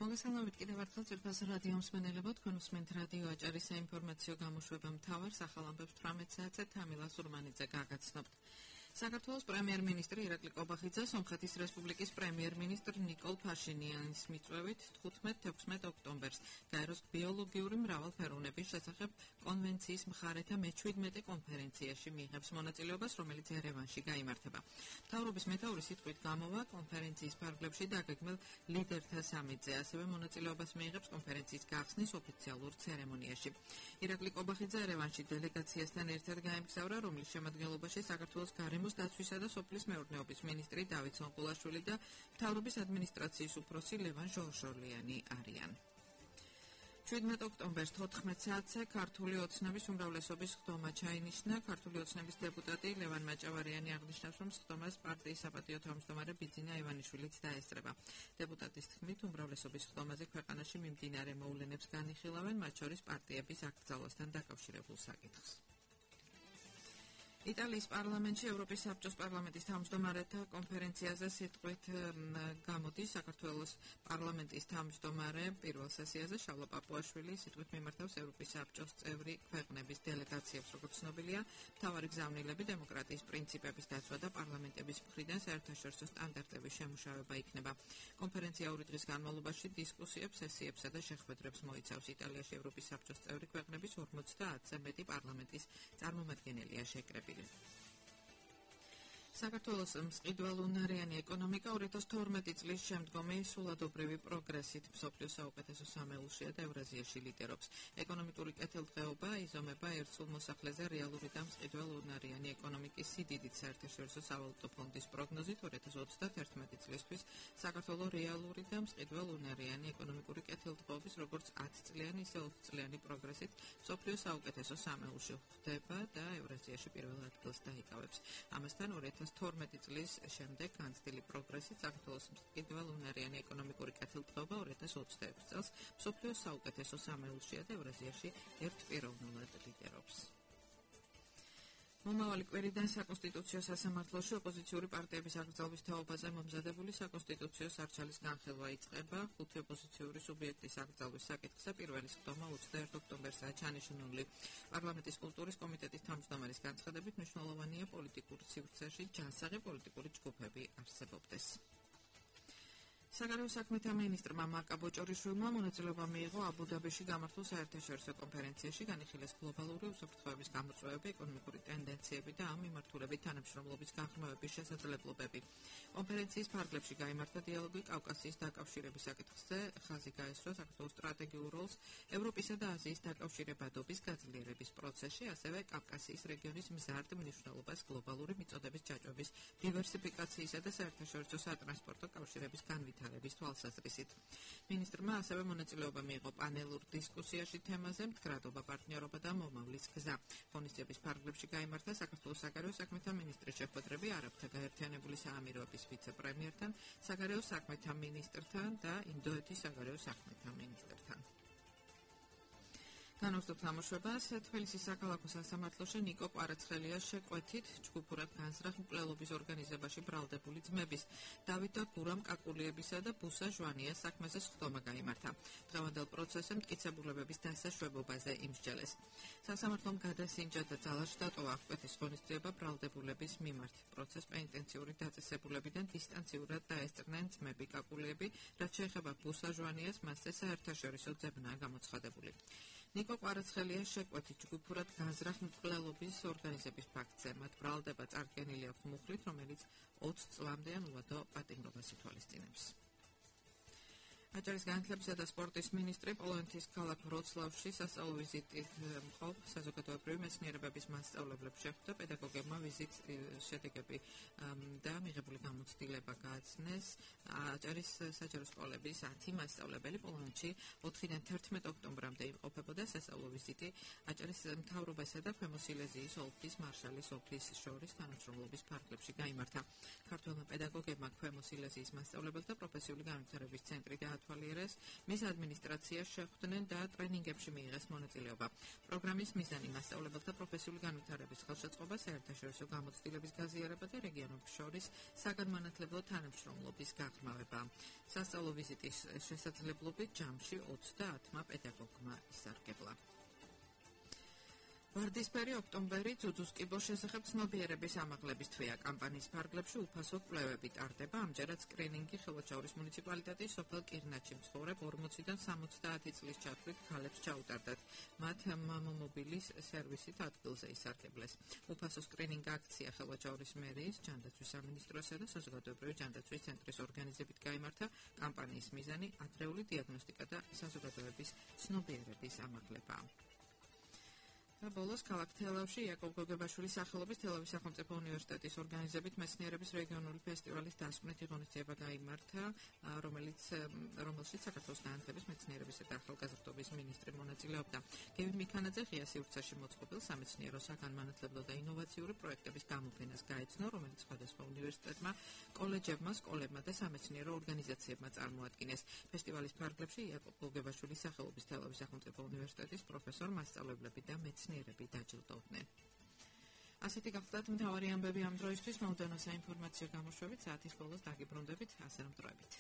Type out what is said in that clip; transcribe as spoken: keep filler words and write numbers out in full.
მოგესალმებით კიდევ ერთხელ ძვირფას რადიო მსმენელებო, თქვენ უსმენთ რადიო აჭარის საინფორმაციო გამოშვება მთავარ სახალ ამბებს თვრამეტ საათზე თამილა სურმანიძე გაგაცნობთ. საქართველოს პრემიერ-მინისტრი ირაკლი კობახიძე სომხეთის რესპუბლიკის პრემიერ-მინისტრ ნიკოლ ფაშინიანის მიწვევით თხუთმეტ-თექვსმეტ ოქტომბერს გაეროს ბიოლოგიური მრავალფეროვნების შესახებ კონვენციის მხარეთა მეჩვიდმეტე კონფერენციაში მიიღებს მონაწილეობას, რომელიც ერევანში გაიმართება. მთავრობის მეთაურის სიტყვით გამოვა კონფერენციის ფარგლებში დაგეგმილ ლიდერთა სამიტზე, ასევე მონაწილეობას მიიღებს კონფერენციის გახსნის ოფიციალურ ცერემონიაში. ირაკლი კობახიძე ერევანში დელეგაციასთან ერთად გაემგზავრა, რომლის შემადგენლობაში საქართველოს გარემოს დაცვისა და სოფლის მეურნეობის მინისტრი დავით სონგულაშვილი და მთავრობის ადმინისტრაციის უფროსი ლევან ჟორჟოლიანი არიან. შვიდმეტ ოქტომბერს თოთხმეტ საათზე ქართული ოცნების უმრავლესობის ხდომა ჩაინიშნა. ქართული ოცნების დეპუტატი ლევან მაჭავარიანი აღნიშნავს, რომ ხდომას პარტიის საპატიო თავმჯდომარე ბიძინა ივანიშვილიც დაესწრება. დეპუტატის თქმით, უმრავლესობის ხდომაზე ქვეყანაში მიმდინარე მოვლენებს განიხილავენ, მათ შორის პარტიების აკრძალვასთან დაკავშირებულ საკითხს. იტალიის პარლამენტში ევროპის საბჭოს პარლამენტის თავმჯდომარეთა კონფერენციაზე სიტყვით გამოდის საქართველოს პარლამენტის თავმჯდომარე პირველ სესიაზე შალვა პაპუაშვილი სიტყვით მიმართავს ევროპის საბჭოს წევრი ქვეყნების დელეგაციებს, როგორც ცნობილია, მთავარი გზავნილები დემოკრატიის პრინციპების დაცვა და პარლამენტების მხრიდან საერთაშორისო სტანდარტების შემუშავება იქნება. კონფერენცია ორი დღის განმავლობაში დისკუსიებს, სესიებსა და შეხვედრებს მოიცავს. იტალიაში ევროპის საბჭოს წევრი ქვეყნების ორმოცდაათზე მეტი პარლამენტის წარმომადგენელია შეკრებილი. საქართველოს მწყიდველუნარიანი ეკონომიკა ორი ათას თორმეტი წლის შემდგომი სულადობრივი პროგრესით მსოფლიოს საუკეთესო სამეულშია და ევრაზიაში ლიდერობს. ეკონომიკური კეთილდღეობა იზომება ერთ სულ მოსახლეზე რეალური და მწყიდველუნარიანი ეკონომიკის სიდიდით. საერთაშორისო სავალუტო ფონდის პროგნოზით ორი ათას ოცდაერთი წლისთვის საქართველოს რეალური და მწყიდველუნარიანი ეკონომიკური კეთილდღეობის როგორც ათწლიანი, ისე ოცწლიანი პროგრესით მსოფლიოს საუკეთესო სამეულში ხვდება და ევრაზიაში პირველ ადგილს დაიკავებს. ამასთან ორი ათას თორმეტი წლის შემდეგ განცდილი პროგრესით საქართველოს მყიდველუნარიანი ეკონომიკური კეთილდღეობა ორი ათას ოცდაექვსი წელს მსოფლიოს საუკეთესო სამეულშია და ევრაზიაში ერთპიროვნულად ლიდერობს. მომავალი კვირიდან საკონსტიტუციო სასამართლოში ოპოზიციური პარტიების აკრძალვის თაობაზე მომზადებული საკონსტიტუციო სარჩელის განხილვა იწყება. ხუთი ოპოზიციური სუბიექტის აკრძალვის საკითხზე პირველი სხდომა ოცდაერთი ოქტომბერსაა ჩანიშნული. პარლამენტის კულტურის კომიტეტის თავმჯდომარის განცხადებით მნიშვნელოვანია პოლიტიკურ სივრცეში ჯანსაღი პოლიტიკური ჯგუფები არსებობდეს. საგარეო საქმეთა მინისტრმა მარკა ბოჭორიშვილმა მონაწილეობა მიიღო აბუ-დაბიში გამართულ საერთაშორისო კონფერენციაში, განიხილეს გლობალური უსაფრთხოების გამოწვევები, ეკონომიკური ტენდენციები და ამ მიმართულებით თანამშრომლობის გაღრმავების შესაძლებლობები. კონფერენციის ფარგლებში გაიმართა დიალოგი კავკასიის დაკავშირების საკითხზე, ხაზი გაესვა საქართველოს სტრატეგიულ როლს ევროპისა და აზიის დაკავშირებადობის გაძლიერების პროცესში, ასევე კავკასიის რეგიონის მზარდ მნიშვნელობას გლობალური მიწოდების ჯაჭვების დივერსიფიკაციისა და საერთაშორისო სატრანსპორტო კავშირების განვითარების თვალსაზრისით. მინისტრმა ასევე მონაწილეობა მიიღო პანელურ დისკუსიაში თემაზე მდგრადობა, პარტნიორობა და მომავლის გზა. ღონისძიების ფარგლებში გაიმართა საქართველოს საგარეო საქმეთა მინისტრის შეხვედრები არაბთა გაერთიანებული საამიროების ვიცე-პრემიერთან, საგარეო საქმეთა მინისტრთან და ინდოეთის საგარეო საქმეთა მინისტრთან. განვაგრძობთ ამოშვებას. თბილისის საქალაქო სასამართლოში ნიკო კვარაცხელიას შეკვეთით ჯგუფურად განზრახ მკვლელობის ორგანიზებაში ბრალდებული ძმების დავით და გურამ კაკულიებისა და ბუსა ჟვანიას საქმეზე სხდომა გაიმართა. დღევანდელ პროცესზე მტკიცებულებების დასაშვებობაზე იმსჯელეს. სასამართლომ გადასინჯა და ძალაში დატოვა აღკვეთის ღონისძიება ბრალდებულების მიმართ. პროცესს პენიტენციური დაწესებულებიდან დისტანციურად დაესწრნენ ძმები კაკულიები, რაც შეეხება ბუსა ჟვანიას, მასზე საერთაშორისო ძებნაა გამოცხადებული. ნიკო კვარაცხელიას შეკვეთით ჯგუფურად განზრახ მკვლელობის ორგანიზების ფაქტზე. მათ ბრალდება წარდგენილი აქვს მუხლით, რომელიც ოცი წლამდე ან უვადო პატიმრობას ითვალისწინებს. აჭარის განათლებისა და სპორტის მინისტრი პოლონეთის ქალაქ ვროცლავში სასწავლო ვიზიტით მყოფ საზოგადოებრივი მეცნიერებების მასწავლებლებს შეხვდა. პედაგოგებმა ვიზიტის შედეგები და მიღებული გამოცდილება გააცნეს. აჭარის საჯარო სკოლების ათი მასწავლებელი პოლონეთში ოთხიდან თერთმეტ ოქტომბრამდე იმყოფებოდა. სასწავლო ვიზიტი აჭარის მთავრობასა და ქვემო სილეზიის ოლქის მარშალის ოლქის შორის თანამშრომლობის ფარგლებში გაიმართა. ქართველმა პედაგოგებმა ქვემო სილეზიის მასწავლებელთა პროფესიული განვითარების ცენტრი გაათვალიერეს, მის ადმინისტრაციას შეხვდნენ და ტრენინგებში მიიღეს მონაწილეობა. პროგრამის მიზანი მასწავლებელთა პროფესიული განვითარების ხელშეწყობა, საერთაშორისო გამოცდილების გაზიარება და რეგიონებს შორის საგანმანათლებლო თანამშრომლობის გაღრმავება. სასწავლო ვიზიტის შესაძლებლობით ჯამში ოცდაათმა პედაგოგმა ისარგებლა. ვარდისფერი ოქტომბერი ძუძუს კიბოს შესახებ ცნობიერების ამაღლების თვეა. კამპანიის ფარგლებში უფასო კვლევები ტარდება. ამჯერად სკრინინგი ხელვაჩაურის მუნიციპალიტეტის სოფელ კირნაჩში მცხოვრებ ორმოციდან სამოცდაათი წლის ჩათვლით ქალებს ჩაუტარდათ. მათ მამომობილის სერვისით ადგილზე ისარგებლეს. უფასო სკრინინგ აქცია ხელვაჩაურის მერიის, ჯანდაცვის სამინისტროსა და საზოგადოებრივი ჯანდაცვის ცენტრის ორგანიზებით გაიმართა. კამპანიის მიზანი ადრეული დიაგნოსტიკა და საზოგადოების ცნობიერების ამაღლებაა. და ბოლოს ქალაქ თელავში იაკობ გოგებაშვილის სახელობის თელავის სახელმწიფო უნივერსიტეტის ორგანიზებით მეცნიერების რეგიონული ფესტივალის დასკვნითი ღონისძიება გაიმართა, რომელიც რომელშიც საქართველოს განათლების, მეცნიერებისა და ახალგაზრდობის მინისტრი მონაწილეობდა. გევin მიქანაძე ღია სივრცეში მოწყობილ სამეცნიერო საგანმანათლებლო და ინოვაციური პროექტების გამოფენას გაეცნო, რომელიც სხვადასხვა უნივერსიტეტმა, კოლეჯებმა, სკოლებმა და სამეცნიერო ორგანიზაციებმა წარმოადგინეს. ფესტივალის ფარგლებში იაკობ გოგებაშვილის სახელობის თელავის სახელმწიფო უნივერსიტეტის პროფესორ, მასწავლებლები და მეცნიერები დაჯილდოვდნენ. ასეთი გახლდათ მთავარი ამბები ამ დროისთვის. მოვდანო საინფორმაციო გამოშვებით საათის ბოლოს დაგიბრუნდებით, ასე რომ დროებით.